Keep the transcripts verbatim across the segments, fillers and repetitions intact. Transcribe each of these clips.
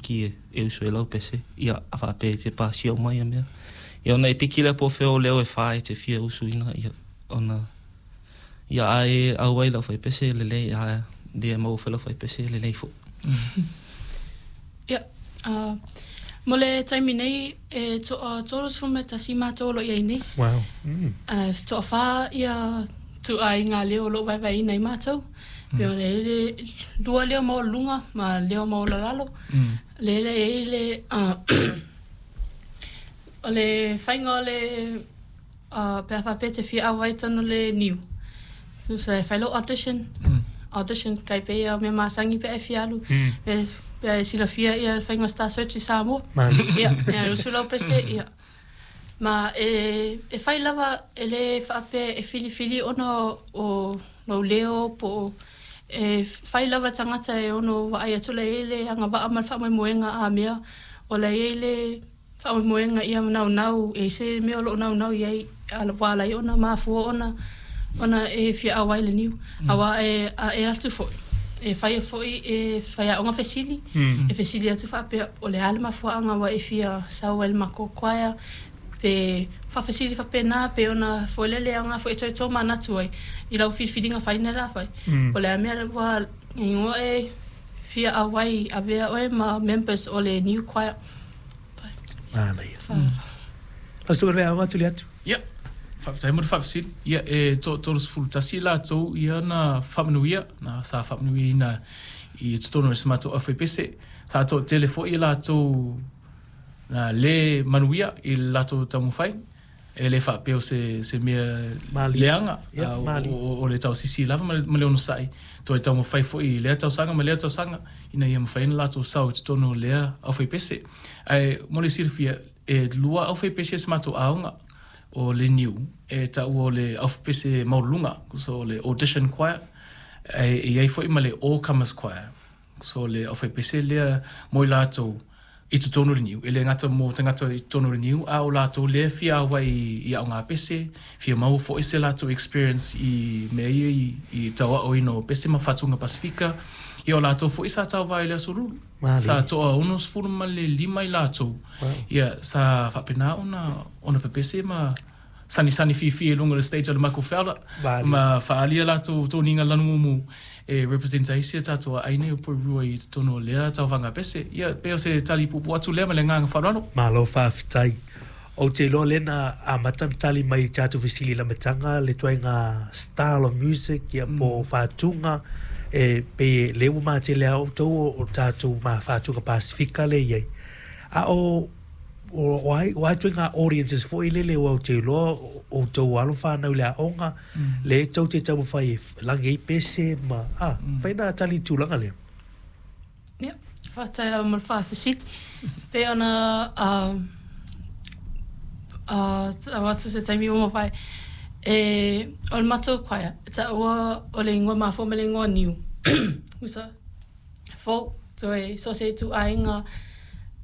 piki e, e usu ai lau pese. Ia, a faapea e te pasia uma ia mea. Ia ona e piki lea po o fea o leo e fa e te fia usuina, ia ona ia a e auai lau faipese e lelei, a le maua foi lau faipese e lelei foi. Ia, uh, mo le taimi nei, e toa tolusefulu ma tasi matou o lo o i ai nei. Wow. Mm. Uh, toafa ia ituaiga leo o lo o vaevaeina ai matou. Pe o le le lua leo maualuluga ma leo maualalalo. Mm. Le le e i le uh, o le faiga o le uh, pe a faapea e te fia auai i totonu o le niu. Tusa e fai lou audition. Mm. Audition kai pei ia o mea masani pe a e fia alu. Mm. Pe, pe a e silafia ia le faiga o Star Search i Samoa. Mali. Ia, ia usu lau pese, ia. Ma e, e fai lava e le faapea e filifili ona o lou leo po o e fai lava tagata e ono vaai atu la i ai le agavaa ma le faamoemoega a mea o la i ai le faamoemoega ia naunau e se mea o loo naunau i ai ua ala ai ona mafua ona ona e fia auai i le niu. Auā e a e atu foi e faia foi e faiaoga fesili Mm. e fesili atu faapea o le a le mafuaaga ua e fia sau ai i le matou choir pe faafesili faapena pe ona foi lele aoga foi e toe tomanatu ai i lau filifiliga faina le a fai Mm. o le a mea ua igoa e fia auai avea oe ma members o le niu choir. Manaia. Fa Lau susuga i le Veaoga tuli atu. Ia, faafetai mo le faafesili. Ia, e toatolosefulu tasi latou ia na faamanuia, na sa faamanuiaina i totonu o si matou aufaipese. Sa toatele foi latou na le manuia i le latou taumafai. E le faapea o se, se mea Mali. leaga, Ia, a, o, mali. o, o le tausisi lava ma le, ma le onosai. Toe taumafai foi i lea tausaga ma lea tausaga, ina ia mafai ona latou sau i totonu o lea aufaipese. Ae mo le silafia, e lua aufaipese a si matou aoga o le niu, e taua o le aufaipese maualuluga, so o le audition choir, ae e i ai foi ma le all comers choir. So le aufaipese lea mo i latou i totonu o le niu, e le gata mo tagata i totonu o le niu, a o latou lea fia auai i, i aoga pese, fia maua foi se latou experience i mea ia i, i tauaoina o pese ma fatuga Pasifika. Ia o latou foi sa tauvā i le Aso Lulu. Mali. Sa toa ono sefulu ma le lima i latou. Wow. Ia, sa faapena ona, ona pepese ma sanisani fiafia i luga o le stage o le Michael Fowler. Mali. Ma faaalia latou toniga lanumu e represent ai si o tatou aiga o Porirua i totonu o lea tauvaga pese. Ia, pe o se tali puupuu atu lea ma le agaga faaaloalo. Malo faafetai. Ou te iloa lea na amata ona tali mai i tatou fesili i le amataga le ituaiga style of music ia po o fatuga e pei e lea ua matele lava outou o, o tatou ma fatuga Pasifika lea i ai. A o o o ai o ai ituaiga audiences foi lele ua ou te iloa o outou alo fanau i le aoga le tou te taumafai e lagi ai pese ma a fai na tali i le tulaga lea. Ia, faafetai lava mo le faafesili. Pe ona uh, uh, tau atu se taimi ua mavae. E, o le matou choir, e taua o le igoa mafua ma le igoa niu. Usa, folk, toe so se ituaiga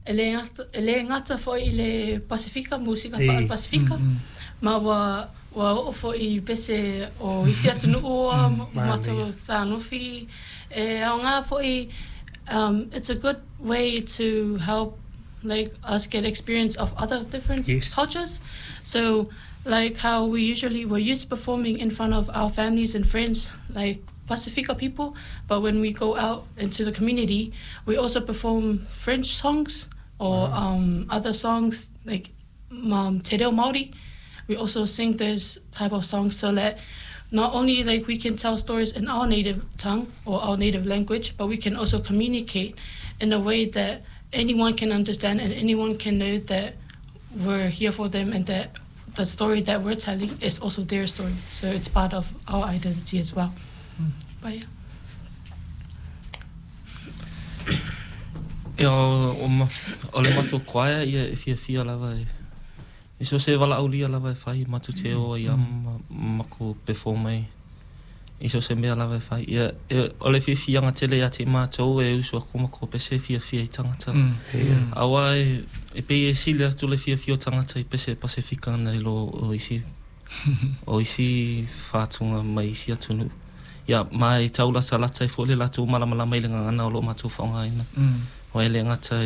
e le gata, e le gata foi i le Pasifika, musika E. faale-Pasifika. Mm, Ma ua, ua oo foi i pese o isi atunuu ua matou tanofi. E aoga foi, um, it's a good way to help like us get experience of other different Yes. cultures. So like how we usually were used to performing in front of our families and friends, like Pasifika people, but when we go out into the community, we also perform French songs or um, other songs like um, Te Reo Māori. We also sing those type of songs so that not only like we can tell stories in our native tongue or our native language, but we can also communicate in a way that anyone can understand and anyone can know that we're here for them and that the story that we're telling is also their story. So it's part of our identity as well. But yeah. Ia, o, o, ma, o le matou choir ia e fiafia lava e i so se valaaulia lava e fai matou te o ai ma makou perform ai i so se mea lava e fai. Ia, e, o le fiafiaga tele ia te matou e usu atu makou pese e fiafia i tagata. Mm. Auā e, e pei e sili atu le fiafia o tagata i pese Pasifika nai lo o isi o isi fatuga mai isi atunuu. Ia, ma e taulatalata ai foi le latou malamalama i le gagana o loo matou faaaogaina. Mm. Ua e le gata